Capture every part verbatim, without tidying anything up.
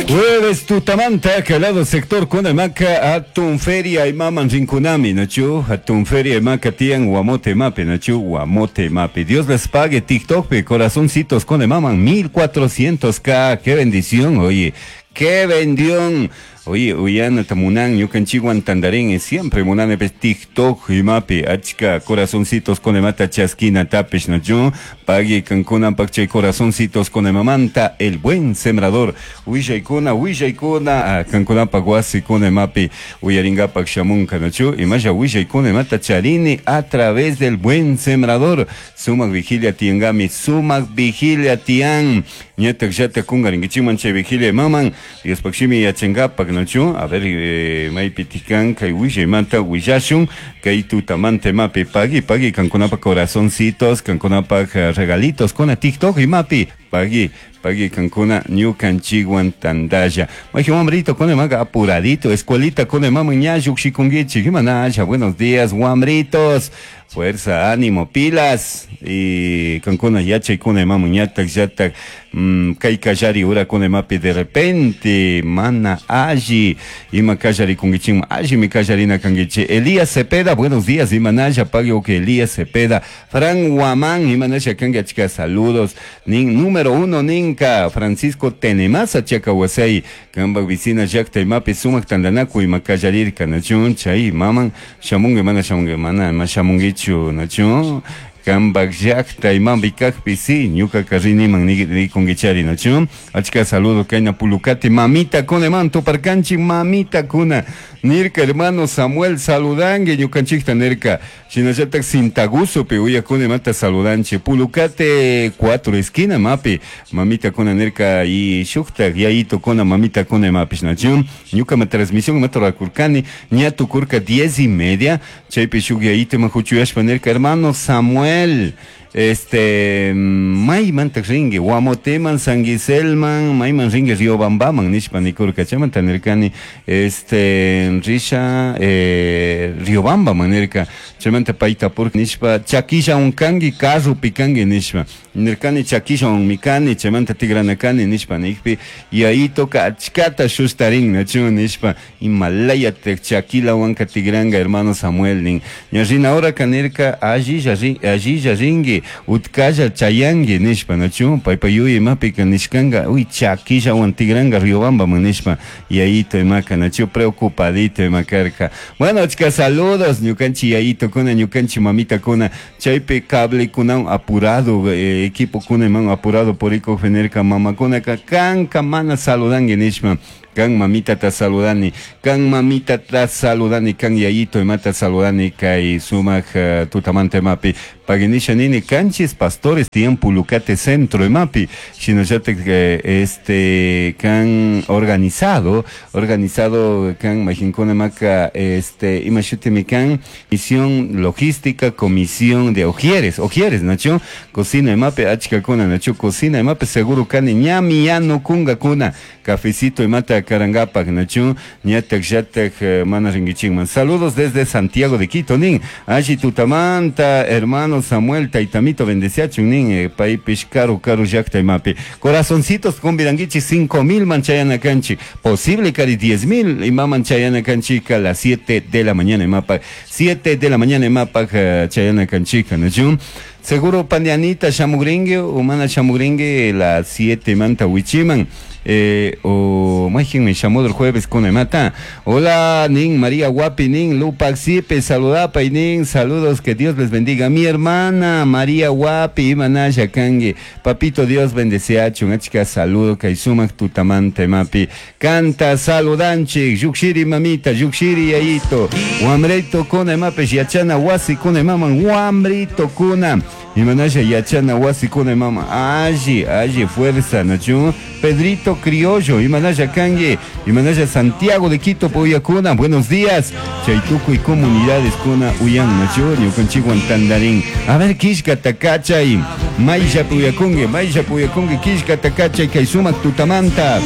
Jueves tutamanta calado sector kunamaka atun feria imaman rinkunami nachu atun feria imaka tian Guamote mape nachu Guamote mape. Dios les pague. TikTok pe corazoncitos con maman mil cuatrocientos k. Qué bendición, oye, qué bendición. Oye, uyana tamunan ñukanchikwan tandarin siempre munane pe TikTok imapi achka corazoncitos con mata chaskina tapish nachu pague kankuna pakchay corazoncitos con mamanta el buen sembrador willaykuna willaykuna kankuna wasi con mapi uyaringapak shamunka nachu imasha willaykuna mata charini a través del buen sembrador. Sumak vigilia tiangami, sumak vigilia tian ñatak llata kungarinkichiman chay vigilia maman Dios pakshimi yachangapak nachu. A ver, eh, maypitikan kay willaymanta willashun kay tutamante mapi pagui pagui kankunapa corazoncitos kankunapa regalitos con TikTok y mapi pagui pagui kankuna ñukanchikwan tandalla. Maji wambrito con maga apuradito escuelita con mama ña llukshikunkichik imanasha. Buenos días wambritos, fuerza, ánimo, pilas y kankuna yachaykuna mama ñatak llatak mm, kay kallari ura con mapi de repente mana alli ima kallarikunkichikman allimi kallarina kankichik. Elías Cepeda, buenos días imanasha pagui que Elías Cepeda. Fran Guamán imanasha kanki achka saludos nin número uno ninka Francisco Tenemasa chakawasay kambak vicina llakta imapi sumak tandanaku ima kallarirka nachun chay maman shamungi mana shamungi mana ma shamungichu nachun kambak llakta imambi kakpi si ñuka karriniman nikunkichari nachun achka saludo kayna Pulucate mamita kuna man tuparkanchik mamita kuna nirka hermano Samuel saludangue ñukanchikta nirka shinallatak Sintagusopi uyakuna imata saludanchik Pulucate cuatro esquina mapi mamita kuna nirka y shuktak yayito kuna mamita kuna imapish nachun ñuka ma transmisión imata rurakurkani ña tukurka diez y media chaypi shuk yayito ima huchuyashpa nirka hermano Samuel este maymantak rinki Guamoteman Sanguiselman mayman rinki Riobambaman nishpa nikurka chaymanta nirkani este risha eh, Riobambaman nirka chaymanta payta purka nishpa chakillawan kanki carropi kanki nishpa nirkani chakillawanmi kani chaymanta tigranakani nishpa nikpi yayitoka achkata shustarin nachun nishpa imalayatak chakilawanka tigranka hermano Samuel nin ña rina horaka nirka allilla allilla rinki utkalla chayanki nishpa nachu paypa yuy imapika nishkanka uy chakillawan tigranka Riobambaman nishpa yayito imaka nachu preocupadito ima karka. Bueno, achka saludos ñukanchik yayito kuna ñukanchik mamita kuna chaypi cable kunawan apurado eh, equipo kuna iman apurado purikukpi nirka mamakunaka kanka mana saludanki nishpa kan mamita ta saludani kan mamita ta saludani kan yayito imata saludani kay sumak uh, tutamante mapi paginisha nini kanchis pastores tiyan Pulucate centro imapi shinallatak eh, este kan organizado organizado kan majinkuna maka este imashutimi kan misión logística comisión de ojieres ojieres nacho cocina imapi achkakuna nacho cocina imapi seguro kani ñami yanu kunga kuna cafecito imata karangapak nachu ñatak llatak mana rinkichikman. Saludos desde Santiago de Quito nin alli tutamanta hermano Samuel taytamito bendeciachun nin eh, paypish karu karu llakta imapi corazoncitos convidankichik cinco mil manchayana kanchik posible kari diez mil imaman chayana kanchika a las siete de la mañana imapak siete de la mañana imapak uh, chayana kanchika nachu seguro pandianita shamugringue o mana shamugringue las siete manta wichiman eh, o me llamó el jueves con mata. Hola nin María Guapi nin Lupac Sipe saludapa y nin saludos que Dios les bendiga mi hermana María Guapi imanasha kangi papito Dios bendeciachu achka saludo kay sumak tutamante mapi canta saludanchik yukshiri mamita yukshiri yayito wambrito kuna mapi yachana wasi kuna maman wambrito kuna imanasha yachana wasi kuna mama alli alli fuerza nachu Pedrito Criollo imanasha kangi imanasha Santiago de Quito Poyacuna buenos días chaytuku y comunidades kuna uyan nachu ñukanchikwan tandarín a ver kishka takachay maylla puyakungi maylla puyakungi kishka takachay kay sumak tutamanta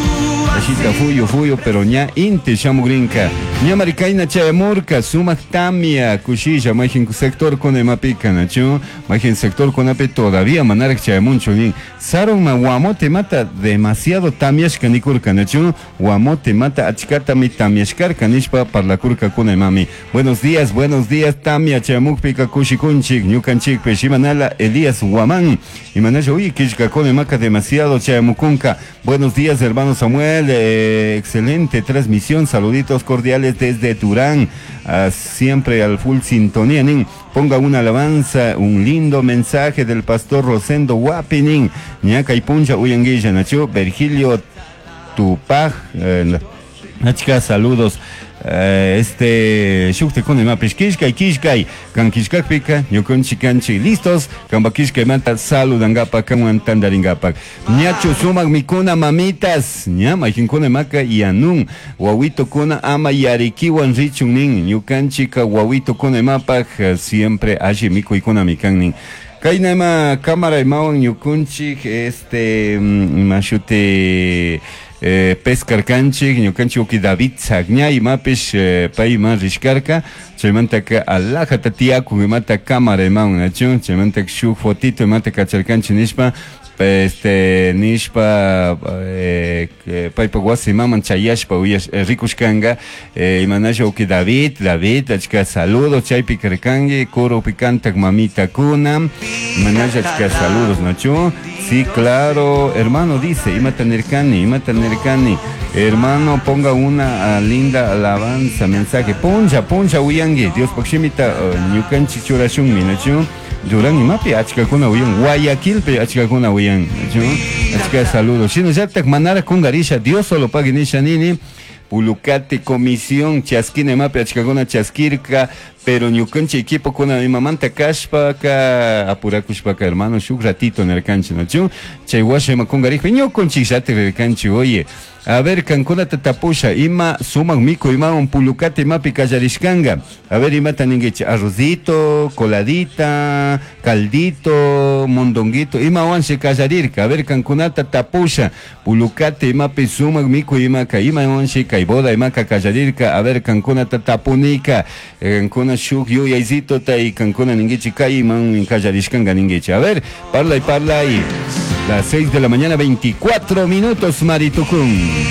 ashita fuyo fuyo pero ña inti shamugrinka Ñamari kayna chayamurka sumak tamia kushilla mayjin sector kuna imapika nachu mayjin sector kunapi todavía manaraj chayamunchu nin sarunma Guamote mata demasiado tamiashka nikurka nachu Guamote mata achkatami tamiashkarka nishpa parlakurka kuna imami. Buenos días, buenos días, tamia chayamukpika kushikunchik ñukanchikpish. Imanala Elías Guamán imanalla uy killkakuna imaka demasiado chayamukunka. Buenos días, hermano Samuel, eh, excelente transmisión, saluditos cordiales desde Durán, uh, siempre al full sintonía, nin. Ponga una alabanza, un lindo mensaje del pastor Rosendo Guapinin, ñaka y puncha uyanguilla, nachu, Virgilio Tupaj, eh, achka saludos. Uh, este shuktikuna imapish killkay killkay kan killkakpika ñukanchik kanchik listos kanpa killkaymanta saludangapak kanwan tantaringapak. Ñachu sumak mikuna mamitas ña mayjinkuna imaka yanun wawitokuna ama yarikiwan richun nin ñukanchika wawitokuna imapak siempre alli mikuykunami kan nin. Kayna ima cámara imawan ñukunchik este imashuti eh, pescarkanchik ñukanchik uki David Sagñay imapish eh, pay ima rishkarka chaymantaka alajata tiyakun imata cámara imawan nachu chaymantaka shuk fotito imata kacharkanchik nishpa este nishpa eh, paypak wasi imaman chayashpa uyash eh, rikushkanka eh, imanasha uki David David achka saludos chaypi karkanki coropi kantak mamitakuna imanasha achka saludos nachu. Sí, claro, hermano, dice, imata nirkani, imata nirkani, hermano, ponga una uh, linda alabanza, mensaje, puncha, puncha, uyangi, Dios pakshimita, uh, ñukanchik churashunmi, nachu, Durán imapi achkakuna uyan, Guayaquilpi achkakuna uyan, nachu, achka saludos, shinallatak manara kungarisha, Dios solo pague nisha nini, Pulucate comisión chaskina imapi achkakuna chaskirka, pero ñukanchik equipo kuna imamanta kashpaka apurakushpaka hermano shuk ratito nirkanchik nachu chay washa ima kungarijpi ñukanchik llatik rirkanchik. Oye, a ver, kankunata tapusha ima sumak mikuy imawan pulucate imapi kallarishkanka, a ver imata ninkichik arrocito, coladita, caldito, mondonguito, imawanshi kallarirka, a ver kankunata tapusha pulucate imapi sumak mikuy imaka imawanshi kay boda imaka kallarirka, a ver kankunata tapunika kankuna shuk yuyaycito y kankuna ninkichik kay iman kallarishkanka ninkichik, a ver, parlay parlay. Las seis de la mañana, veinticuatro minutos, Maritucún.